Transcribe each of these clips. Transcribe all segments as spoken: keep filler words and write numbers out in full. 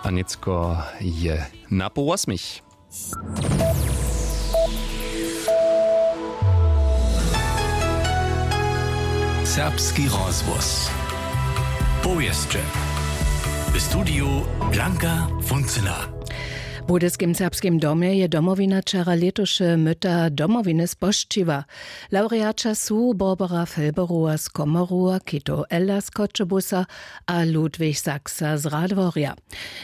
A nětko je na poł wosmich. Serbski rozhłos. Powěsće. W studiju Blanka Funcyna. W Budyskim serbskim domje je Domowina wčera lětuše myta Domowiny spožčiła. Lawreaća su Barbara Felberowa z Komoru, Kito Ella z Choćebuza a Ludwig Saxa z Radworja.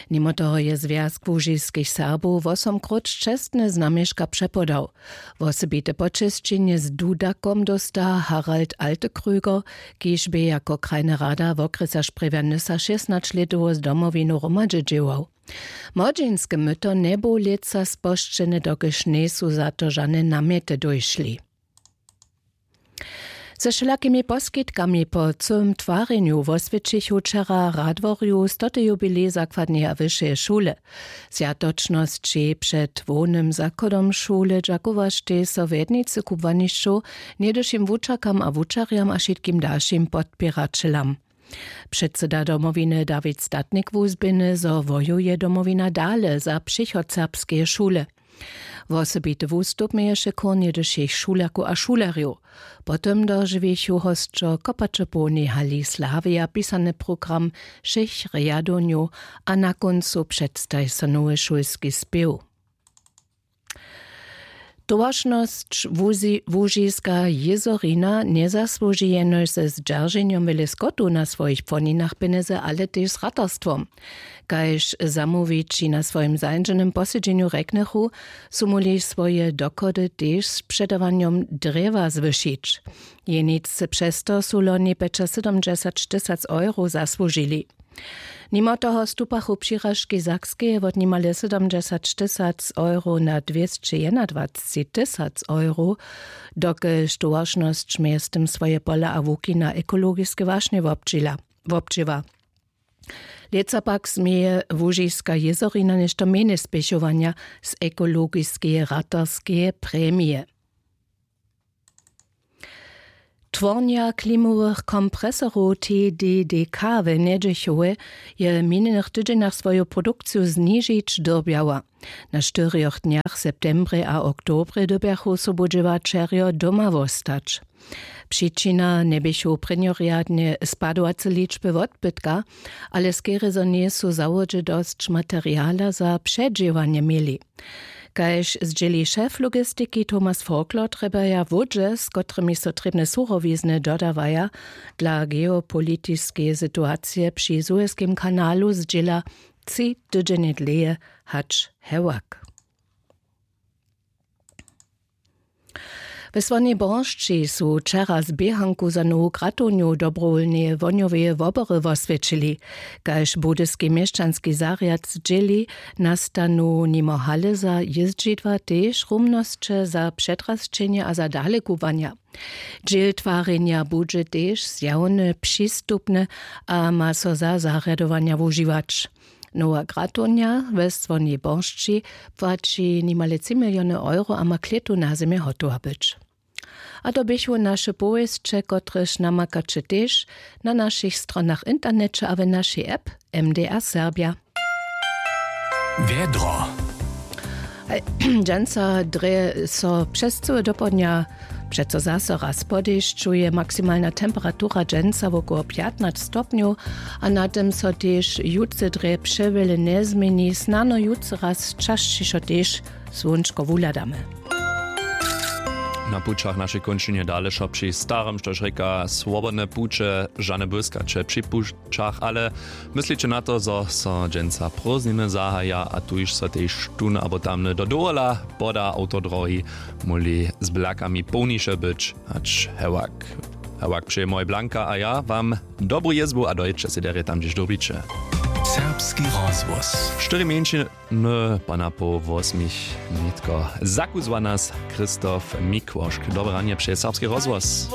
Nimo toho je Zwjazk łužiskich Serbow wosomkróć čestne znamješka přepodał. Wosebite počesćenje z dudakom dósta Harald Altekröger, kiž bě jako krajny rada wokrjesa Sprjewja Nysa šěsnaćlětowost Domowiny hromadźe dźěłał. Młodźinske myto njebu lětsa spožčene, dokelž njejsu za to žane namjety dóšli. Ze wšelakimi poskitkami po cyłym twarjenju woswjećichu wčera w Radworju stoty jubilej zakładneje a wyšeje šule. Swjatočnosći před hłownym zachodom šule dźakowaštej so w jednicy kubłanišćow, něhdyšim wučerkam a wučerjam a wšitkim dalšim podpěraćelam. Předsyda Domowiny Dawid Statnik wuzběhny, zo wojuje Domowina dale za přichod serbskeje šule. Wosebity wustup měješe chór něhdyšich šulerkow a šulerjow. Potom dožiwichu hosćo kopače połnej hali Slavija pisany program wšěch rjadownjow a na kóncu předstaji so nowy šulski spěw. Towaršnosć Łuži-, Łužiska jězorina njezasłuži jenož ze zdźerženjom wjele skotu na swojich płoninach pjenjezy, ale tež z ratarstwom. Kaž zamołwići na swojim zańdźenym posedźenju rjeknychu, su móhli swoje dochody tež z předawanjom drjewa zwyšić. Jeničce přez to su loni pjećasydomdźesać tysac euro zasłužili. Nimo toho stupachu přiražki Sakskeje wot nimale sydomdźesać tysac euro na dwěsće jednadwaceći tysac euro, dokelž towaršnosć mjeztym swoje pola a łuki na ekologiske wašnje wobdźěla-, wobdźěła. Lětsa pak změje Łužiska jězorina něšto mjenje spěchowanja z ekologiskeje ratarskeje premije. Twornja klimowych kompresorow T D D K w Njedźechowje je w minjenych tydźenjach swoju produkciju znižić dyrbjała. Na štyrjoch dnjach w septembrje a oktobrje dyrbjachu sobudźěłaćerjo doma wostać. Přičina njeběchu prěnjorjadnje spadowace ličby wotbytka, ale skerje zo njejsu w zawodźe dosć materiala za předźěłanje měli. Kaž zdźěli šef logistiki Thomas Folklor, trjebaja łódźe, z kotrymiž so trěbne surowizny dodawaja, dla geopolitiskeje situacije při Suezkim kanalu zdźěla tři tydźenje dlěje hač hewak. We Słonjej Boršći su wčera z běhanku za nowu gratownju dobrowólneje wohnjoweje wobory woswjećili. Kaž budyski měšćanski zarjad zdźěli, nastanu nimo hale za jězdźidła tež rumnosće za přetrasćenje a za dalekubłanja. Dźěl twarjenja budźe tež zjawny, přistupny a ma so za zarjadowanja wužiwać. Nowa gratownja we Słonjej Boršći płaći nimale tři miliony euro a ma klětu na zymje hotowa być. A to běchu naše powěsće, kotrež namakaće tež na našich stronach w interneće a w našej app M D R Serbja. Wjedro. Haj, dźensa drje so přez cyłe dopołdnja přeco zaso raz po dešću. Je maksimalna temperatura dźensa wokoło pjatnaće stopnjow a na tym so tež jutře drje přewjele njezměni. Snano jutře raz časćišo tež słónčko wuhladamy. Na pućach našej kónčinje dale wšo při starym, štož rěka, swobodne puće, žane błyskaće při pućach, ale mysliće na to, zo so dźensa prózdniny zahaja a tuž so tež tón abo tamny do dowola poda awtodrohi, móhli z blakami połniše być hač hewak. Hewak přeje moj Blanka a ja wam dobru jězbu a dojěće sej derje tam, hdźež dyrbiće. Serbski rozhłos. Štyri mjeńšiny po napoł wosmich nětko. Zakuzła nas Christoph Mikłošk. Dobre ranje přeje Serbski rozhłos.